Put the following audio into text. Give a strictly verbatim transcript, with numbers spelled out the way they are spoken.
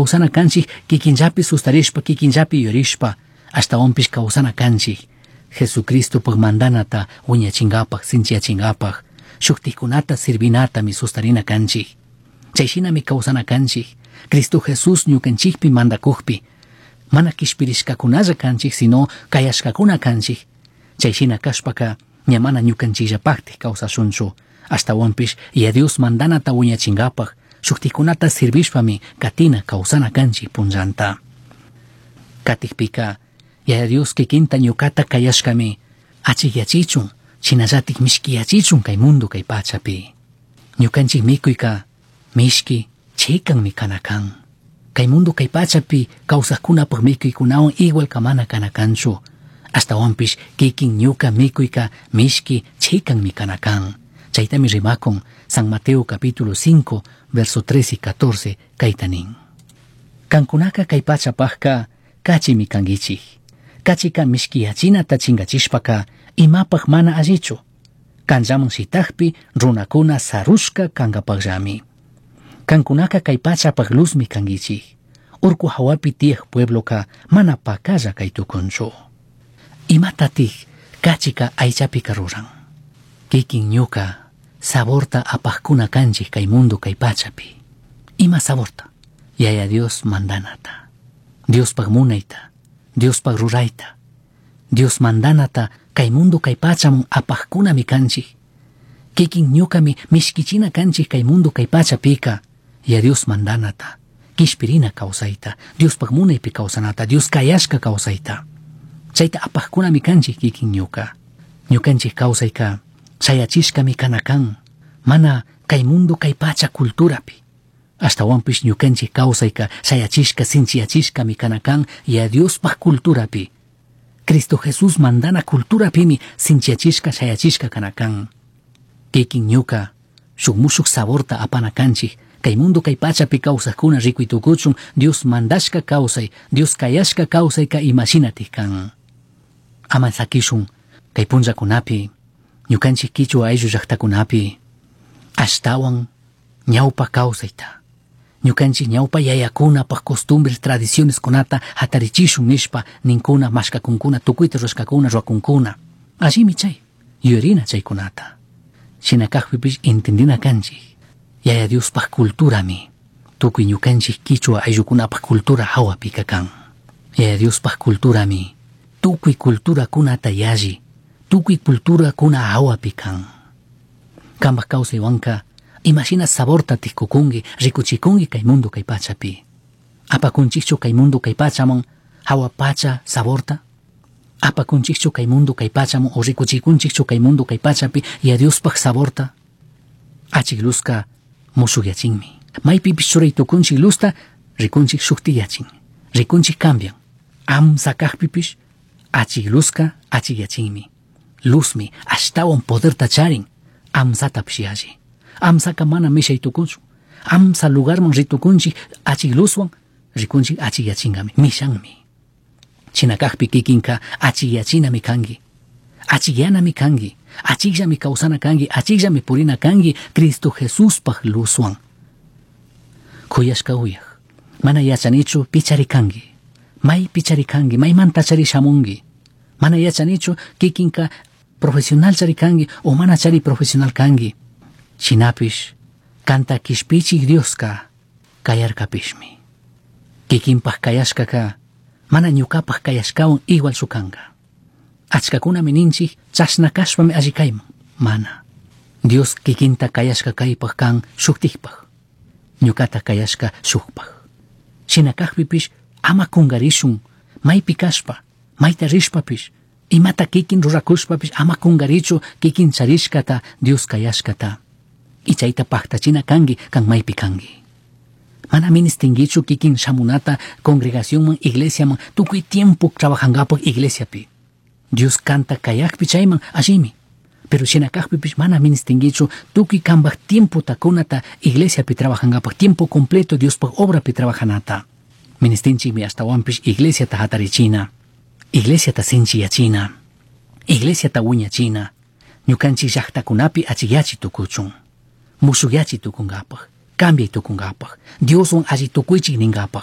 kawsana kanchik kikinllapi sustarishpa kikinllapi yuyarishpa ashtawanpish kawsana kanchik Jesucristopaj mandanata wiñachinkapak sinchiyachinkapak shuktikunata sirvinatami sustarina kanchik chayshinami kawsana kanchik Cristo Jesús ñukanchikpi mandakukpi mana kishpirishkakunalla kanchik sino kayashkakuna kanchik chayshina kashpaka ña mana ñukanchikllapaktik kawsashunchu ashtawanpish Yaya Dios mandanata wiñachinkapak shuktikunata sirvishpami katina kawsana kanchik punllanta katikpika Yaya Dios kikinta ñukata kayashkami achikyachichun shinallatik mishkiyachichun kay mundo kay pachapi ñukanchik mikuyka mishki chikanmi kana kan kay mundo kay pachapi kawsaqkunapaq mikuykunawan igual kamana kana kanchu ashtawanpish kikin ñuka mikuyka mishki chikanmi kana kan chaytami rimakun San Mateo capítulo cinco verso tres y catorce kayta nin kankunaka kay pachapaqka kachimi kankichik kachika mishkiyachinata chinkachishpaka imapaq mana allichu kanllaman shitakpi runakuna sarushka kankapaqllami kankunaka kay pachapaq luzmi kankichik urku hawapi tiyaq puebloka mana pakalla kay tukunchu imatatik kachika aychapika ruran kikin ñuka saborta apaqkuna kanchik kay mundo kay pachapi ima saborta Yaya Dios mandanata Diospaq munayta Diospaq rurayta Dios mandanata kay mundo kay pachaman apaqkunami kanchik kikin ñukami mishkichina kanchik kay mundo kay pachapika Yaya Dios mandanata kishpirina kawsayta Diospaq munaypi kawsanata Dios kayashka kawsayta chayta apaqkunami kanchik kikin ñuka ñukanchik kawsayka shayachishkami kana kan mana kay mundo kay pacha culturapi ashtawanpish ñukanchik kawsayka shayachishka sinchiyachishkami kana kan Yaya Diospaq culturapi Cristo Jesús mandana culturapimi sinchiyachishka shayachishka kana kan kikin ñuka shuk mushuk saborta apana kanchik kay mundo kay pachapi kawsaqkuna rikuy tukuchun Dios mandashka kawsay Dios kayashka kawsayka imashinatik kan ama sakishun kay punllakunapi ñukanchik kichwa ayllu llaqtakunapi ashtawan ñawpa kawsayta ñukanchik ñawpa yayakunapaq costumbres tradiciones kunata hatarichishun nishpa ninkuna mashkakunkuna tukuyta rurashkakuna ruwakunkuna allimi chay yuyarina chaykunata shina kaqpipish entendina kanchik Yaya Diospaq culturami tukuy ñukanchik kichwa ayllukunapaq cultura hawapika kan Yaya Diospaq culturami tukuy culturakunata yalli tukuy culturakuna hawapi kan kanpaq kawsaywanka imashina saborta tikukunki rikuchikunki kay mundo kay pachapi apakunchikchu kay mundo kay pachaman hawa pacha saborta apakunchikchu kay mundo kay pachaman o rikuchikunchikchu kay mundo kay pachapi Yaya Diospaq saborta achik luzka mushukyachinmi maypipish churay tukunchik luzta rikunchik shuktiyachin rikunchik cambian amsa kaqpipish achik luzka achikyachinmi luzmi ashtawan poderta charin amsatapish yalli amsaka mana mishay tukunchu amsa lugarman ritukunchik achik luzwan rikunchik achikyachinqami mishanmi shina kaqpi kikinka achikyachinami kanki achikyanami kanki achikllami kawsana kanki achikllami purina kanki Cristo Jesuspaq luzwan kuyashka uyak mana yachanichu pichari kanki maypi chari kanki maymanta chari shamunki mana yachanichu kikinka profesional chari kanki o mana chari profesional kanki shinapish kanta kishpichik Dioska kayarkapishmi kikinpaq kayashkaka mana ñukapaq kayashkawan igualchu kanka achkakunami ninchik chashna kashpami alli kayman mana Dios kikinta kayashka kaypaq kan shuktikpaq ñukata kayashka shukpaq shina kaqpipish ama kungarishun maypi kashpa mayta rishpapish imata kikin rurakushpapish ama kungarichu kikin charishkata Dios kayashkata y chayta paktachina kanki kan maypi kanki mana ministinkichu kikin shamunata congregacionman iglesiaman tukuy tiempo trabajankapaq iglesiapi Dios kanta kayakpi chayman allimi pero shina kaqpipish mana ministinkichu tukuy kanpaq tiempota kunata iglesiapi trabajankapaq tiempo completo Diospaq obrapi trabajanata ministinchikmi ashtawanpish iglesiata hatarichina iglesiata sinchiyachina iglesiata wiñachina ñukanchik llaqtakunapi achikyachi tukuchun mushukyachi tukunkapaq cambiay tukunkapaq Dioswan alli tukuychik ninkapaq